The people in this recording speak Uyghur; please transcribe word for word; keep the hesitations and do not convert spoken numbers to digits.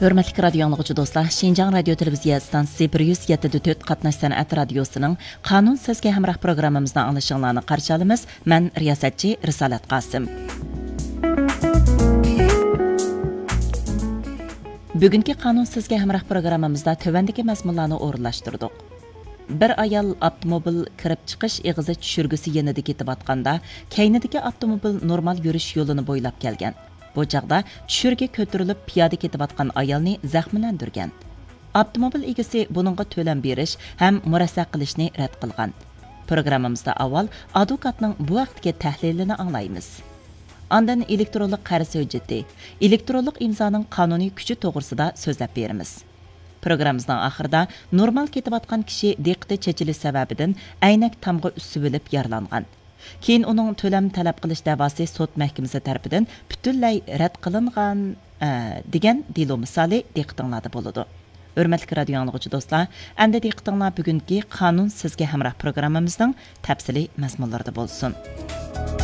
ھۆرمەتلىك رادىيو ئاڭلىغۇچى دوستلار، شىنجاڭ رادىيو تېلېۋىزىيە ئىستانسىسى بىر يۈز يەتتە دۆت قاتناش سەنئەت رادىيوسىنىڭ قانۇن سىزگە ھەمراھ پروگراممىمىزدا ئاڭلىشىڭلارنى قارشى ئالىمىز. مەن رىياسەتچى رىسالەت قاسىم. بۈگۈنكى قانۇن سىزگە ھەمراھ پروگراممىمىزدا تۆۋەندىكى مەزمۇنلارنى ئورۇنلاشتۇردۇق. بىر ئايال ئاپتوموبىل كىرىپ چىقىش ئېغىزى چۈشۈرگۈسى يېنىدا كېتىۋاتقاندا، كەينىدىكى ئاپتوموبىل نورمال يۈرۈش يولىنى بويلاپ كەلگەن. بۇ چاغدا چۈشۈرگە كۆتۈرۈلۈپ پىيادە كېتىۋاتقان ئايالنى زەخىملەندۈرگەن. ئاپتوموبىل ئىگىسى بۇنىڭغا تۆلەم بېرىش ھەم مۇرەسسە قىلىشنى رەت قىلغان. پروگراممىمىزدا ئاۋۋال ئادۋوكاتنىڭ بۇ ھەقتىكى تەھلىلىنى ئاڭلايمىز. ئاندىن ئېلېكترونلۇق قەرز ھۆججىتى، ئېلېكترونلۇق ئىمزانىڭ قانۇنىي كۈچى توغرىسىدا سۆزلەپ بېرىمىز. پروگراممىمىزنىڭ ئاخىرىدا نورمال كېتىۋاتقان كىشى دىققىتى چېچىلىش سەۋەبىدىن ئەينەك تامغا ئۈسۈۋېلىپ يارىلانغان. كېيىن ئۇنىڭ تۆلەم تەلەپ قىلىش دەۋاسى سوت مەھكىمىسى تەرىپىدىن پۈتۈنلەي رەت قىلىنغان، ئە، دېگەن دېلو مىسالى دىققىتىڭلاردا بولىدۇ. ھۆرمەتلىك رادىيو ئاڭلىغۇچى دوستلار، ئەمدى دىققىتىڭلار بۈگۈنكى قانۇن سىزگە ھەمراھ پروگراممىمىزنىڭ تەپسىلىي مەزمۇنلىرىدا بولسۇن.